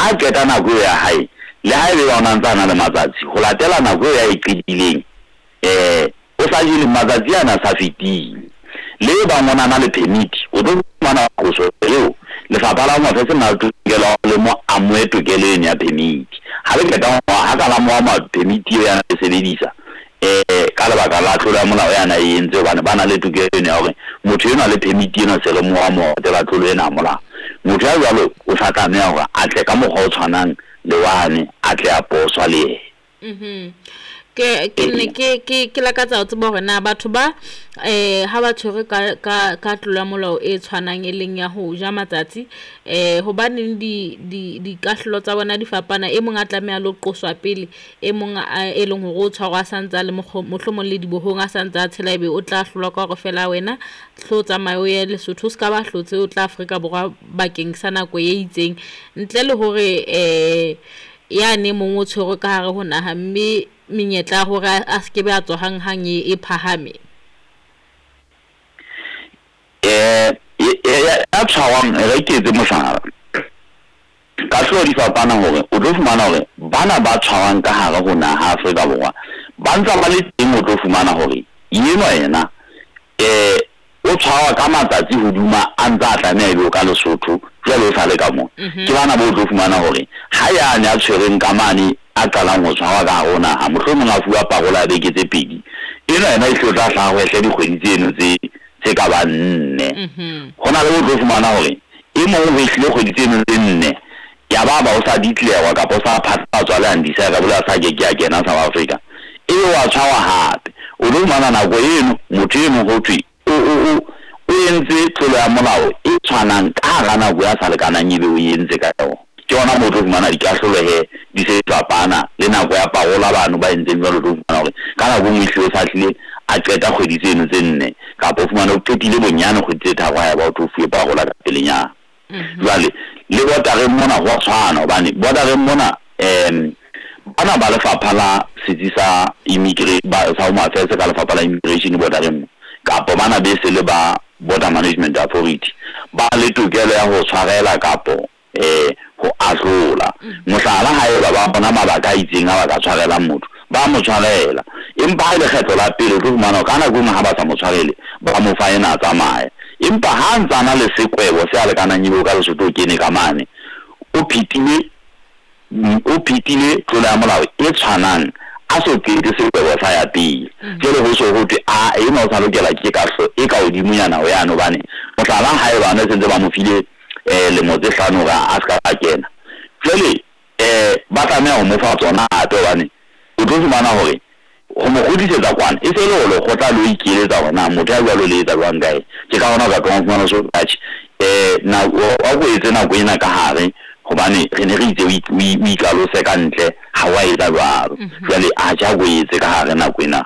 Ha a qeta nako eo ya hae, le ha ebe ona ntse a na le matsatsi, ho latela nako eo ya e qetileng, o sa jele matsatsi ana a sa fetile. Le e bang o na le permit, o tlo fumana qoso eo lefapha la Home Affairs le na le tokelo ya le mo amohe tokelo eno ya permit. Ha le qeta ha ka la mo ama permit eo ya e sebedisa, ka lebaka la tlolo ya molao ya na e entse, hobane ba na le tokelo eno ya hore motho enwa le permit ena se re mo amoha latela tlolo ena ya molao. Motho ya jwalo o sa tlameha hore a tle ka mokgwa o tshwanang le wane, a tle a poswa le yena. Ke ne ke lakatsa ho tseba hore na batho ba ha ba tshwerwe ka tlolo ya molao e tshwanang e leng ya ho ja matsatsi, hobaneng di dikahlolo tsa bona di fapana? E mong a tlameha le ho qoswa pele, e mong e leng hore o tshwarwa a santse a le mohlomong le dibohong, a santse a tshela, ebe o tla hlolwa ka hore fela wena hlo tsamaye o ye Lesotho, o ska ba hlotse o tla Afrika Borwa bakeng sa nako e itseng, ntle le hore yane mong o tshwerwe ka hare ho naha, mme menyetla ya hore a se ke be a tswa hanghang e phahame. Ya tshwarwang, re ke etse mohlala. Kahlolo di fapana hore o tlo fumana hore bana ba tshwarwang ka hare ho naha Afrika Borwa ba ntsa ba le teng, o tlo fumana hore enwa yena o tshwarwa ka matsatsi hoduma a ntse a tlameha ebe o ka Lesotho, jwale o sa le ka mona. Ke bana bo tlo fumana hore ha yane a tshwerweng ka mane a qalang ho tshwarwa ka hare ho naha, mohlomong a fuwa parola ya beke tse pedi, enwa yena e hle o tla hlaha ho ehle dikgwedi tseno tse ka bang 4. Ho na le bo tlo fumana hore e mong ho ehlile kgwedi tseno tse 4, ya ba ba o sa ditlewa kapa o sa phatlatswa le undesirable, a sa ke ke a kena South Africa, ebe wa tshwarwa hape. O tlo fumana nako eno motho eno ho thwe o entse tlolo ya molao e tshwanang ka hara nako ya sa lekanang ebe o entse ka yona. Ke hona moo o tlo fumana dikahlolo he di se fapana le nako ya parola bano ba entseng jwalo. O tlo fumana hore ka nako e nngwe ehlile o sa hlile a qeta kgwedi tseno tse 4, kapa o fumane o qetile bonyane kgwedi tse 3 ha eba o tlo fuwe parola ka pelenyana. Jwale le bordereng mona ho a tshwana, hobane bordereng mona bana ba lefapha la setsi sa sa Home Affairs ka lefapha la immigration bordereng mo, kapa bana be se le ba Border Management Authority ba le tokelo ya ho tshwarela kapo ho ahlola. Mohlala, haeba ba bona mabaka a itseng a ba ka tshwarelang motho, ba mo tshwarela. Empa ha e le kgetlo la pele, o tlo fumana ka nako e nngwe ha ba sa mo tshwarele, ba mo fa ena a tsamaye. Empa ha ntse a na le sekwebo se a lekanang ebe o ka Lesotho o kene ka mane, o phetile tlolo ya molao e tshwanang, a so qete sekwebo sa ya pele. Jwale ho so ho thwe a ena o sa lokela ke kahlolo e ka hodimonyana ho yane, hobane mohlala haeba ne sentse ba mo file lemo tse 5 hore a ska a kena, jwale ba tlameha ho mo fa tsona hape, hobane o tlo fumana hore ho mo kgutlisetsa kwana e se le hore lekgotla le o ikeletsa hore na motho ya jwalo le etsa jwang kae. Ke ka hona o ka tlohang ho fumana so atjhe, wa ko etse nako ena ka hare, hobane re ne re itse o ikalose ka ntle, ha wa etsa jwalo. Jwale atjhe a ko etse ka hare nako ena.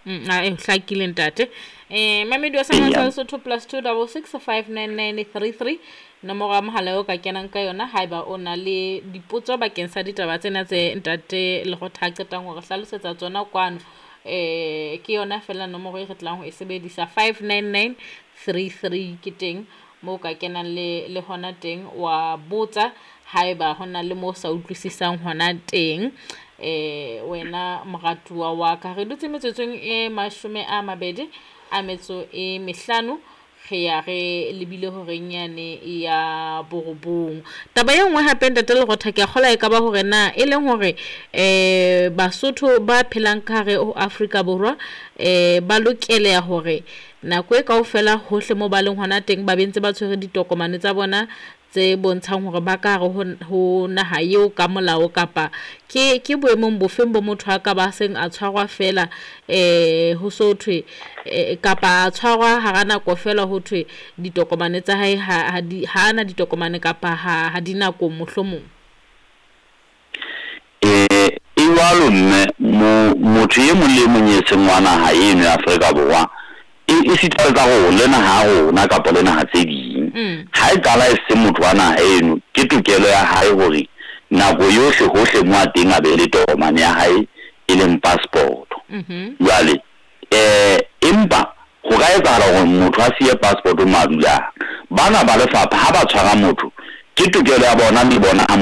A e hlakile ntate. Mamedi wa Sangwe Sotho +2 66 599 33, nomoro ya mohala eo ka kenang ka yona haeba o na le dipotso bakeng sa ditaba tsena tse ntate Lekgotha a qetang hore hlalosetsa tsona kwano. Ke yona fela nomoro e re tlang ho e sebedisa, 599 33 ke teng moo ka kenang le hona teng wa botsa haeba hona le moo sa utlwisisang hona teng. Wena moratuwa wa ka, re dutse metsotsong e 25 re ya re lebile horeng yane ya 9. Taba e nngwe hape ntate Lekgotha, ke a kgolwa e ka ba hore na e leng hore Basotho ba phelang ka hare ho Afrika Borwa ba lokeleha hore nako e kaofela hohle moo ba leng hona teng ba bentse ba tshwere ditokomane tsa bona tse bontshang hore ba ka hare ho naha eo ka molao, kapa ke boemong bofeng bo motho a ka ba seng a tshwarwa fela ho so thwe kapa a tshwarwa hara nako fela ho thwe ditokomane tsa hae ha di ha ana ditokomane kapa ha di nako mohlomong? E jwalo mme, motho e mong le mong e seng wa naha eno ya Afrika Borwa, e sita le tsa rona, le naha ya rona kapa le naha tse ding. Ha e qala e se motho wa naha eno, ke tokelo ya hae hore nako yohle hohle mo a teng a be le tokomane ya hae e leng passport. Jwale empa ho ka etsahala hore motho a siye passport mo a dulang. Bana ba lefapha ha ba tshwara motho, ke tokelo ya bona le bona ha